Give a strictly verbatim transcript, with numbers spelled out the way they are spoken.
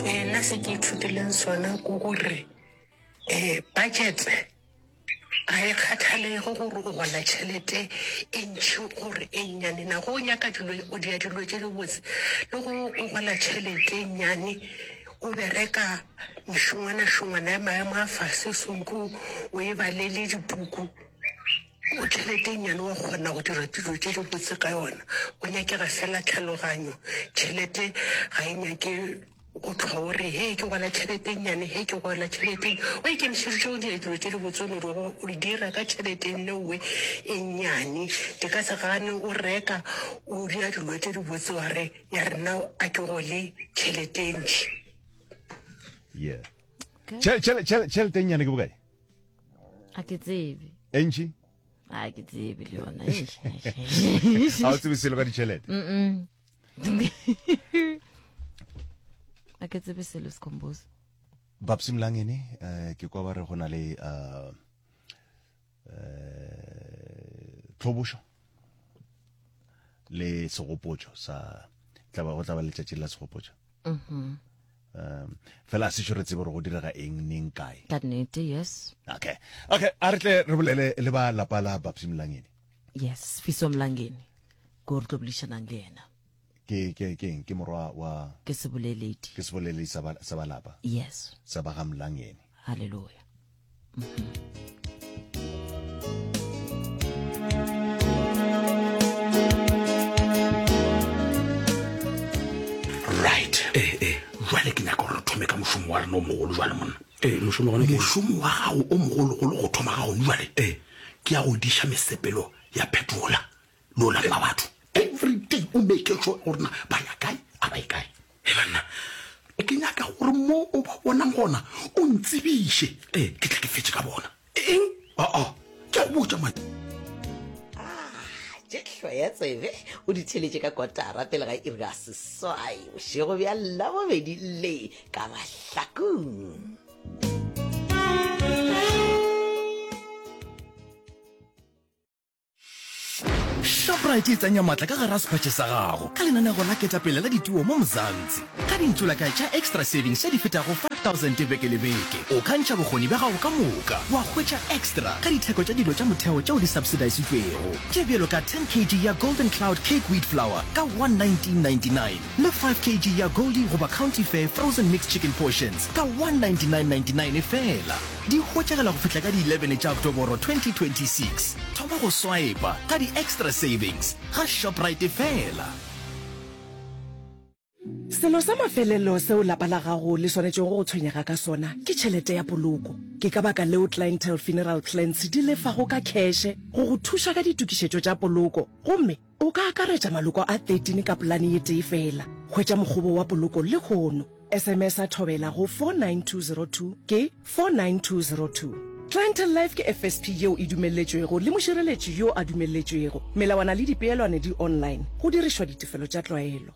Eh, nna se ke ithutileng sona ke gore um budget ga e kgathalege gore o gola tšhelete e ntši gore e nnyane na. Go o nyaka dilo, o dia dilo tše dibotse le go o gola tšhelete e nnyane, o bereka mešongwana-šongwana ya maemo a fase, sonke o e balele dipuku, o tšhelete e nnyane wa kgona go dira dilo tše dibotse ka yona. Go nyakega fela tlhaloganyo. Tšhelete ga e nyake go hlwa o re, Hei, ke gola tšhelete e nnyane, hei, ke gola tšhelete e. O ikemišeditše go dira dilo tše dibotse, o no di go di dira ka tšhelete nneowe e nnyane. Di ka se gane o reka, o dira dilo tše dibotse wa re, ya re nna a ke gole tšhelete e ntši. Yeah. Tšhe- tšhele- tšhele- Tšhelete e nnyane ke bokae? A ke tsebe. E ntši? A ke tsebe le yona. Ga o tsebe selo ka ditšhelete? Mm-mm. A ke tsebe selo Skhumbuzo. Babsy Mlangeni, eh, ke kwa ba re go na le uh, eh, tlhobošo le segopotšo sa tla ba go tla ba letšatši la segopotšo. Mhm. Um, fela a sešo re tsebe gore go direga eng neng kae. Ka nnete, yes. Okay. Okay, a re tle re bolele le ba lapa la Babsy Mlangeni. Yes, Fiso Mlangeni. Ko re tlo boledišanang le yena. Ke ke ke eng? Ke morwa wa Ke seboleledi. Ke seboleledi sa ba sa ba lapa. Yes. Sa ba ga Mlangeni. Hallelujah. Right. Eh eh, jwale ke nyaka gore re thome ka mošomo wa rena o mogolo jwale monna. Eh, mošomo gona ke Mošomo wa gago o mogologolo go thoma ga gone jwale. Eh. Ke ya go diša mesepelo ya phetola le o laola batho. Every day o make sure gore na ba ya kae a ba ye kae. He banna. Ke nyaka gore mo o ba bonang gona o ntsebiše. Eh. Ke tle ke fetše ka bona. Eng? Aa, ke a go botša man. Ah, tše hloya tsebe o di theletše ka kotara pele ga iri ya seswai bošego bja Labobedi le ka Mahlakung. Shoprite e tsenya matla ka gare ga sephatše sa gago ka lenanego la ketapele la dituo mo Mzansi. Ka dintšolakae tša Extra Savings tše di fetago five thousand beke le beke, o ka ntšha bokgoni bja gago ka moka wa hwetša extra ka ditheko tša dilo tša motheo tšeo di subsidisitšwego, tše bjalo ka ten kg ya Golden Cloud Cake Wheat Flour ka one nineteen ninety nine le five kg ya Goldie goba County Fair Frozen Mixed Chicken Portions ka one ninety nine ninety nine feela. Di hwetšagala go fihla ka di eleven tša Oktoboro twenty twenty six. Thoma go swipa ka di Xtra Savings ga Shoprite feela. Selo sa mafelelo seo lapa la gago le swanetšego go tshwenyega ka sona ke tšhelete ya poloko. Ke ka baka leo Clientele Funeral Plans di lefago ka kheše go go thuša ka ditokišetšo tša poloko gomme o ka akaretša maloko a thirteen ka polane ye tee feela. Hwetša mokgobo wa poloko lehono. S M S a Thobela go four nine two zero two ke four nine two zero two. Clientele Life ke F S P yeo e dumelletšwego le mošireletši yo a dumelletšwego. Melawana le dipeelwane di online, go dirišwa ditefelo tša tlwaelo.